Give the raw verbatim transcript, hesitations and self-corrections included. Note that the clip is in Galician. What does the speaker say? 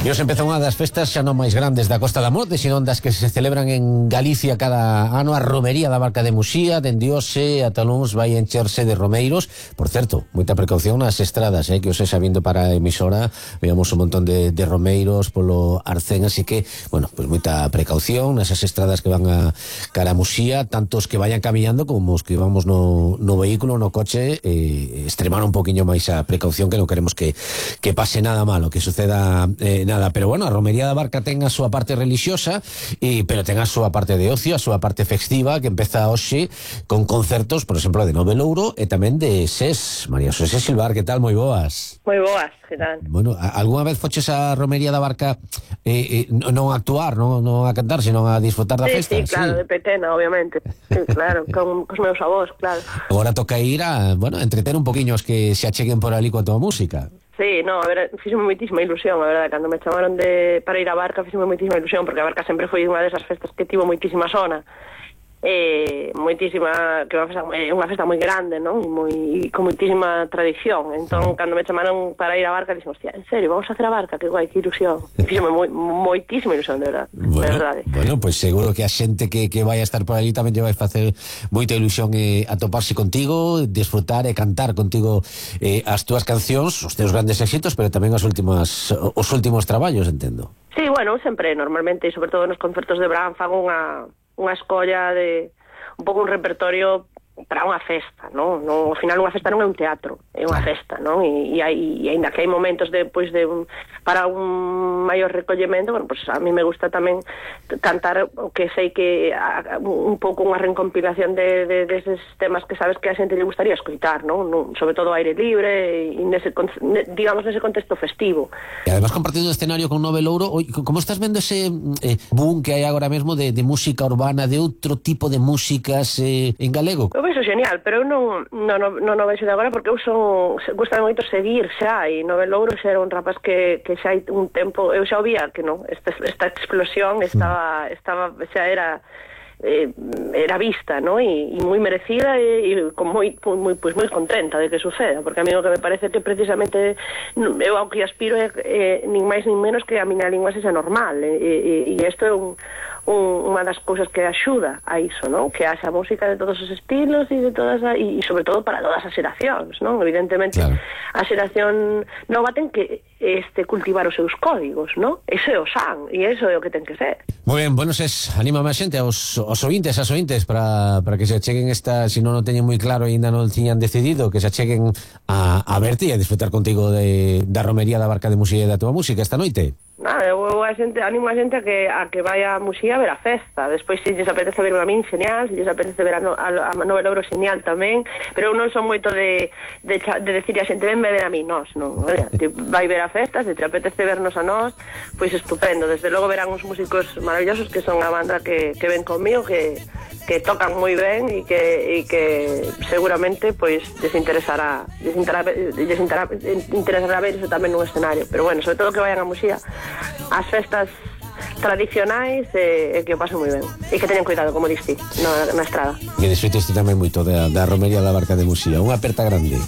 E hoxe empeza unha das festas xa non máis grandes da Costa da Morte, sino das que se celebran en Galicia cada ano, a romería da Barca de Muxía. Dende hoxe ata luns vai encherse de romeiros. Por certo, moita precaución nas estradas, eh, que hoxe xa vindo para a emisora veamos un montón de, de romeiros polo arcén, así que, bueno, pues moita precaución nesas estradas que van a cara a Muxía, tanto os que vayan camiñando como os que vamos no, no vehículo, no coche, eh, extremar un poquinho máis a precaución, que non queremos que, que pase nada malo, que suceda eh, nada, pero bueno, a romería da Barca ten a súa parte religiosa, e, pero ten a súa parte de ocio, a súa parte festiva, que empeza hoxe con concertos, por exemplo, de Nove Louro e tamén de SES. María Xosé Silvar, que tal? Moi boas. Moi boas, que tal? Bueno, algunha vez foches a romería da Barca eh, eh, non a actuar, non, non a cantar, senón a disfrutar da sí, festa? Sí, claro, sí, de pequena, obviamente. Sí, claro, con cos meus avós, claro. Agora toca ir a, bueno, entreter un poquinho os que se acheguen por ali coa tua música. Sí, no, a ver, fíxome moitísima ilusión, a verdade, cando me chamaron de para ir a Barca, fíxome moitísima ilusión, porque a Barca sempre foi unha desas festas que tivo moitísima sona, eh, moitísima, que é unha festa, é unha festa moi grande, non? E moi, con moitísima tradición. Entón, cando me chamaron para ir a Barca, dixen, hostia, en serio, vamos a hacer a Barca? Que guai, que ilusión. Fíxome moi, moitísima ilusión, de verdade. Bueno, de verdade. Bueno, pois pues seguro que a xente que, que vai a estar por ali tamén lle vai facer moita ilusión eh, atoparse contigo, disfrutar e cantar contigo eh, as túas cancións, os teus grandes éxitos, pero tamén as últimas, os últimos traballos, entendo. Sí, bueno, sempre, normalmente, sobre todo nos concertos de verán, fago unha unha escolla de un pouco un repertorio para unha festa, non? No, ao final unha festa non é un teatro, é unha festa, non? E, e, hai, e ainda que hai momentos de, pois, de un, para un maior recollemento, bueno, pues a mí me gusta tamén cantar o que sei que a, un pouco unha recompilación de, de, de eses temas que sabes que a xente lle gustaría escoitar, non? No, sobre todo aire libre e nese, digamos, nese contexto festivo. E además compartindo escenario con Nove Louro, como estás vendo ese eh, boom que hai agora mesmo de, de música urbana, de outro tipo de músicas eh, en galego? Eu vexo genial, pero eu non, non, non, non vexo de agora, porque eu son, gusta moito seguir xa, e Nove Louro xa era un rapaz que, que xa hai un tempo, eu xa o vía que non, esta, esta explosión estaba, estaba xa era eh, era vista, ¿no? E, e moi merecida e, e con moi, moi, pues moi contenta de que suceda, porque a mí o que me parece que precisamente eu ao que aspiro é, é nin máis nin menos que a miña lingua sexa normal, e, e, e isto é un Un, unha das cousas que axuda a iso, non? Que haxa música de todos os estilos e de todas a, e, e sobre todo para todas as xeracións, non? Evidentemente, claro, a xeración nova ten que este cultivar os seus códigos, non? Ese é o san, e iso é o que ten que ser. Moi ben, bueno, ses, anima máis xente aos, aos ointes, as ointes para, para que se acheguen esta, se non o teñen moi claro e ainda non tiñan decidido, que se acheguen a, a verte e a disfrutar contigo de, da romería da Barca de Muxía e da tua música esta noite. Nada, eu a xente, animo a xente a que, a que vaya a Muxía a ver a festa. Despois, se lles apetece ver a min, genial. Se lles apetece ver a, no, a, a Nove Louro, genial tamén. Pero eu non son moito de, de, de decir a xente, venme ver a min, nós, non. Oye, te vai ver a festa, se te apetece vernos a nós, pois estupendo. Desde logo verán uns músicos maravillosos que son a banda que, que ven conmigo, que, que tocan moi ben e que, e que seguramente pois desinteresará, desinteresará, desinteresará, interesará ver iso tamén nun escenario. Pero bueno, sobre todo que vayan a Muxía as festas tradicionais e, e que o pasen moi ben e que teñan cuidado, como diste, na, na estrada. Que disfrutes tamén moito da, da romería da Barca de Muxía. Unha aperta grande.